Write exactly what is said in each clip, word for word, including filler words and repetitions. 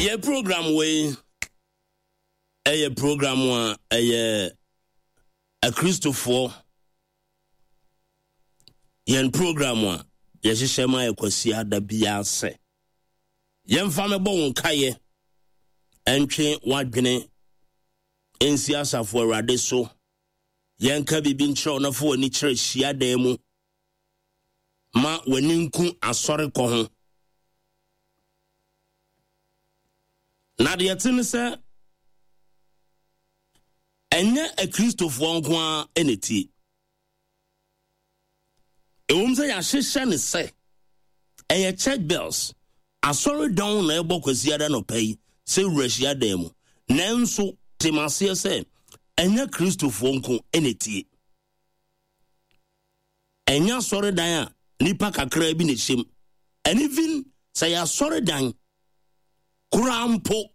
Yɛ program wei ɛyɛ program a ɛyɛ Akristofoɔ yɛn program a yɛhyehyɛ ma yɛ Kwasiada biara sɛ yɛmfa mɛbɔ wo nkayɛ, ɛntwe w'adwene nsi asafo Awurade so, yɛnka biribi nkyerɛ wo na fa w'ani kyerɛ hyiadan mu ma w'ani nku asɔre kɔ ho. Na deɛ te ne sɛ ɛnyɛ Akristofoɔ nko ara na tie. Ɛwom sɛ yɛahyehyɛ ne sɛ ɛyɛ church bells, asɔredan na ɛbɔ Kwasiada nɔpa yi sɛ wura hyiadan mu, nanso te maseɛ sɛ ɛnyɛ Kristofoɔ nko na tie. Ɛnyɛ asɔredan a nipa kakra bi na ɛhyɛ mu. And even sɛ yɛ asɔredan koraa mpo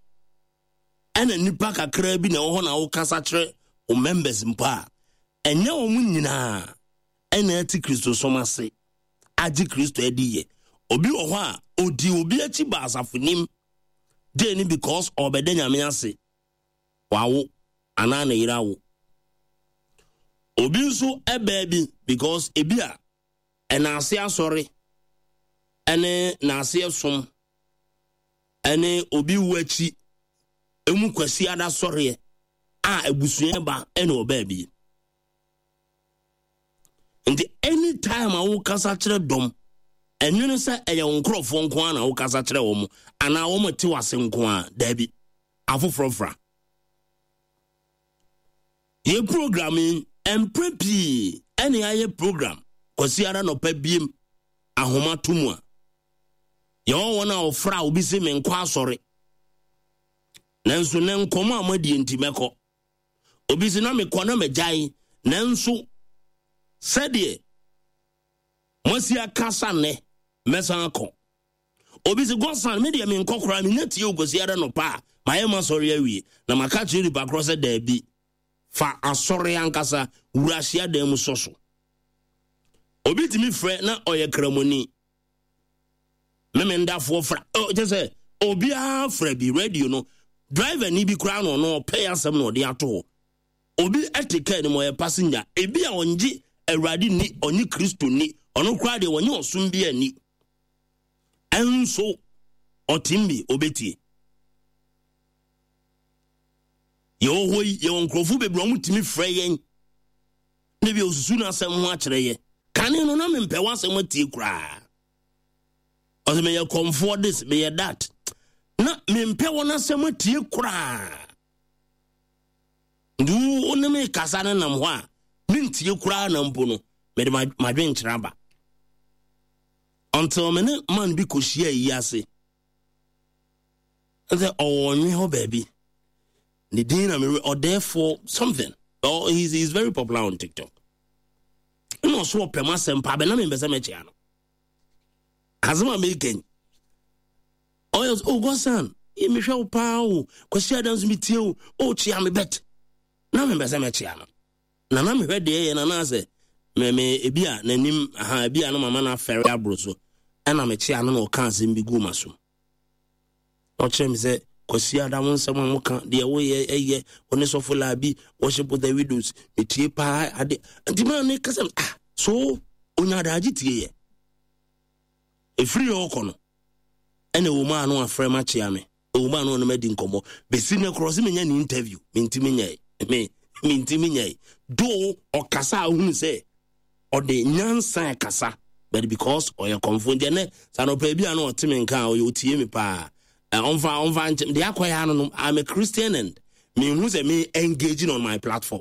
ɛna nipa kakra bi na ɛwɔ hɔ na wokasa kyerɛ wo members mpo a, ɛnyɛ wɔn nyinaa ɛna ɛte Kristosom ase agye Kristo adi yɛ. Obi wɔ hɔ a odi obi akyi ba asafo nim de ni because ɔbɛda Nyame ase wawo anaa ne yere awo. Obi nso ɛbɛɛ bi because ebi a ɛna ase asɔre ɛne n'ase ɛsom ɛne obi wu akyi emu Kwasiada sɔreɛ a abusua ba ɛna ɔbaa bi. Nti anytime a wokasa kyerɛ dɔm, ɛnwene sɛ ɛyɛ wo nkurɔfoɔ nko ara na wokasa kyerɛ wɔn anaa wɔn te wase nko ara. Daabi, afoforɔ fra. Yɛ program yi mpere pii ɛne ayɛ program Kwasiada nɔpa biem ahoma to mu a yɛwɔ wɔn a wɔfra a obi sɛ menkɔ asɔre, nanso ne nkɔmɔ a moadie nti mɛkɔ. Obi sɛ na mekɔ na magyae, nanso sɛdeɛ moasi akasa nnɛ mɛsan akɔ. Obi sɛ Godson, me deɛ menkɔ koraa, menya tie wo Kwasiada nɔpa a mayɛ ma asɔre awie. Na maka kyerɛ nipa korɔ sɛ daabi, fa asɔre ankasa wura hyiadan mu sɔ so. Obi tumi frɛ na ɔyɛ kramoni, memendafoɔ fra, kyɛ sɛ obiara frɛ bi radio no driver ni bi koraa na ɔno ɔpɛ asɛm na ɔde ato hɔ. Obi ɛte kaa no mu ɔyɛ passenger, ebi a ɔngye Awurade ni, ɔnye Kristo ni, ɔno koraa deɛ ɔnye ɔsom bi ani, ɛnso ɔtem bi obetie. Yɛwɔ hɔ yi, yɛwɔ nkurɔfoɔ bebree ɔmo tumi frɛ yɛn na bi osusu n'asɛm ho akyerɛ yɛ. Kane no na mempɛ w'asɛm atie koraa, ɔsɛ meyɛ kɔmfoɔ this, meyɛ that, na mempɛ wɔn asɛm atie koraa. Nti wo ne me kasa no nam hɔ a mentie koraa na mpo no mede madwenkyerɛ aba until me ne man bi kɔhyia yi ase sɛ ɔwɔ ɔnwe hɔ baabi, ne din na mere ɔdɛɛfoɔ something. Oh, he's, he's very popular on TikTok. Ɛna ɔso ɔpɛ m asɛm pa bɛ na mempɛ sɛ mɛkyea no asɛm a mekɛn. Ɔyɛ, "Oh Godson, mehwɛ wo paa o, Kwasi ada nso metie wo o, kyea me." Bet na mempɛ sɛ mɛkyea no na na mehwɛ deɛ yɛ na na sɛ me me ebi a n'anim aha ebi a na mama no afɛre aboro so. Ɛna mekyea no na ɔka asɛm bi gu ma so. Ɔkyerɛ me sɛ Kwasi ada wo nsɛm a moka deɛ woyɛ ɛyɛ wo ne sɔfo laabi worship with the widows, metie paa ade. Nti maa ne kasa, ah, so onya adagye tie yɛ. Ɛfiri yɛ ɔkɔ no ɛna ɛwɔ mu a no afrɛ ma kyea me, ɛwɔ mu a no ɔno madi nkɔmmɔ bɛsi ne korɔ sɛ menya ne interview, mentimi nyɛe, me mentimi nyɛe do. Ɔkasa a wohunu sɛ ɔde nyansa kasa, but because ɔyɛ kɔmfo nti ɛnɛ sa nɔpɛ bi a na ɔte me nka a ɔyɛ ɔtie me paa. Ɔmfa ɔmfa nkyɛn deɛ akɔyɛ ano no, I'm a Christian and mehu sɛ me engaging on my platform.